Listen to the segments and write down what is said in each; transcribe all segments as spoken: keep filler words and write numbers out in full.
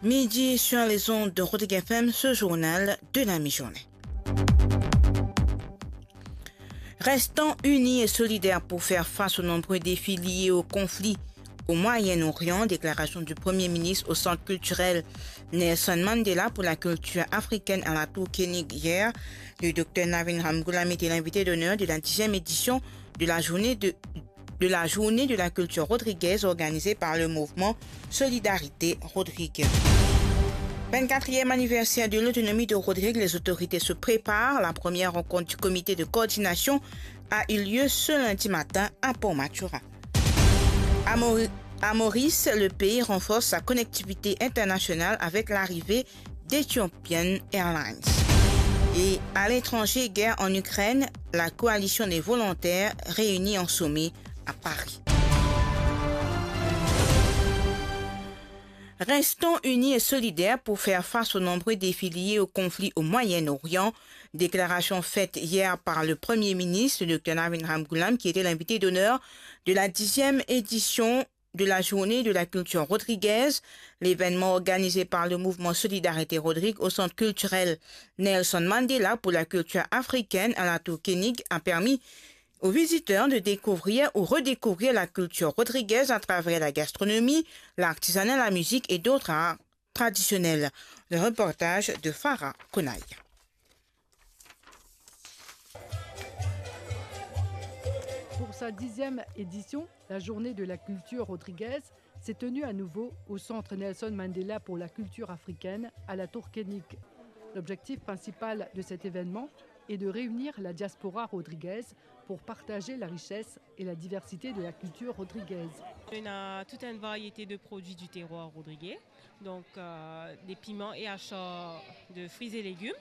Midi sur les ondes de Rodrigue F M, ce journal de la mi-journée. Restons unis et solidaires pour faire face aux nombreux défis liés au conflit au Moyen-Orient, déclaration du Premier ministre au Centre culturel Nelson Mandela pour la culture africaine à la Tour Koenig hier. Le docteur Navin Ramgoolam était l'invité d'honneur de la dixième édition de la journée de, de la journée de la culture rodriguaise organisée par le mouvement Solidarité Rodrigue. Vingt-quatrième anniversaire de l'autonomie de Rodrigue, les autorités se préparent. La première rencontre du comité de coordination a eu lieu ce lundi matin à Port Mathurin. À Mauri-, à Maurice, le pays renforce sa connectivité internationale avec l'arrivée d'Ethiopian Airlines. Et à l'étranger, guerre en Ukraine, la coalition des volontaires réunie en sommet à Paris. Restons unis et solidaires pour faire face aux nombreux défis liés au conflit au Moyen-Orient. Déclaration faite hier par le Premier ministre, le docteur Navin Ramgoolam, qui était l'invité d'honneur de la dixième édition de la journée de la culture rodriguaise. L'événement organisé par le mouvement Solidarité Rodrigue au Centre culturel Nelson Mandela pour la culture africaine à la Tour Koenig a permis aux visiteurs de découvrir ou redécouvrir la culture rodriguaise à travers la gastronomie, l'artisanat, la musique et d'autres arts traditionnels. Le reportage de Farah Konaï. Pour sa dixième édition, la journée de la culture rodriguaise s'est tenue à nouveau au Centre Nelson Mandela pour la culture africaine à la Tour Koenig. L'objectif principal de cet événement est de réunir la diaspora rodriguaise pour partager la richesse et la diversité de la culture rodriguaise. On a toute une variété de produits du terroir rodriguais. Donc, euh, des piments et achats de fruits et légumes.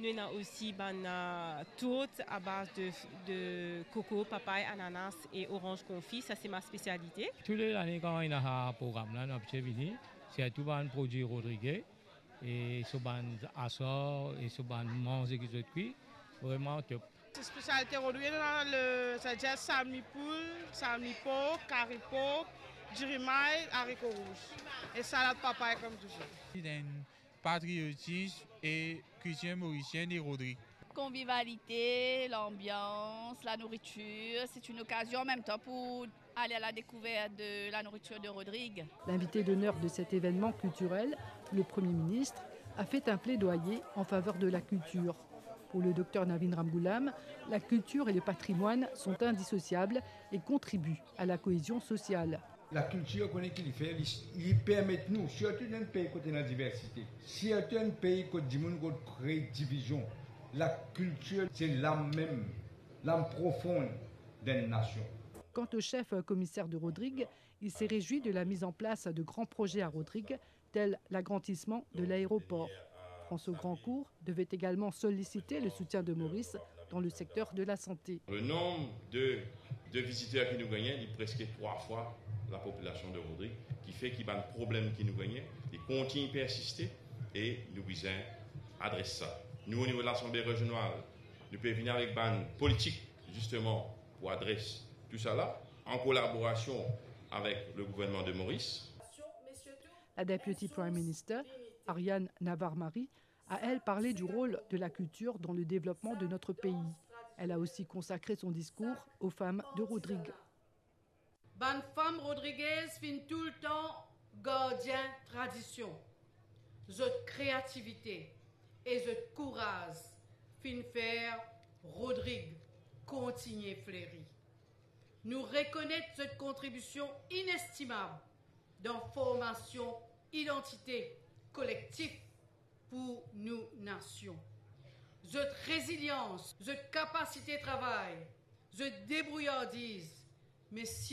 Nous avons aussi bann, euh, tourte à base de, de coco, papaye, ananas et orange confit. Ça, c'est ma spécialité. Tou le lane kan ena sa program la, nou abitie vini, sirtou bann prodwi rodrige, e so bann asar, e so bann manze ki zot kwi, vreman top. Spesialite Rodrig, nou ena le, savedir salmi poul, salmi pork, kari pork, diri may, zariko rouz. E salad papay kom touzour. Li ena patriotis e kiltir morisien de Rodrig. Convivialité, l'ambiance, la nourriture, c'est une occasion en même temps pour aller à la découverte de la nourriture de Rodrig. L'invité d'honneur de cet événement culturel, le Premier ministre, a fait un plaidoyer en faveur de la culture. Pour le docteur Navin Ramgoolam, la culture et le patrimoine sont indissociables et contribuent à la cohésion sociale. Lakiltir, kone ki li fer, li, li permet nou, sirtou dan enn pei kot ena diversite, sirtou enn pei kot dimoun kot kree divizion, lakiltir se lam mem, lam profon d'enn nasion. Quant au chef commissaire de Rodrig, il s'est réjoui de la mise en place de grands projets à Rodrig, tel l'agrandissement de l'aéroport. François Grandcourt devait également solliciter le soutien de Maurice dans le secteur de la santé. Le nombre de, de visiteurs ki nou gagne, li preske trwa fwa lapopilasion de Rodrig, ki fer ki bann problem ki nou gagne, li kontign persiste e nou bizin adres sa. Nou, o nivo de Lasanble Rezional, nou pe vini avek bann politik, zisteman, pou adres tou sa la, an kolaborasion avek le gouvernman de Maurice. La députée Prime Minister, Ariane Navarre-Marie, a, elle, parlé du rôle de la culture dans le développement de notre pays. Elle a aussi consacré son discours aux femmes de Rodrig. Bann fam rodrigez finn toultan gardien tradision. Zot kreativite e zot kouraz finn fer Rodrig kontigne fleri. Nou rekonet zot kontribision inestimab dan formasion idantite kolektif pou nou nasion. Zot rezilians, zot kapasite travay, zot debrouyardiz, me